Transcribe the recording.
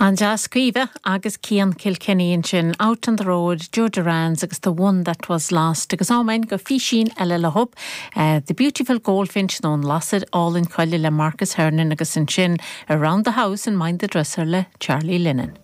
An-deas, Caoimhe agus Cian Kilkenny ansin, Out on the Road, Joe Durans agus The One That Was Lost agus amen go físín eile leo, The Beautiful Goldfinch nó An Lasair Álainn Coille le Marcus Hernon agus ansin Around the House and Mind the Dresser le Charlie Lennon.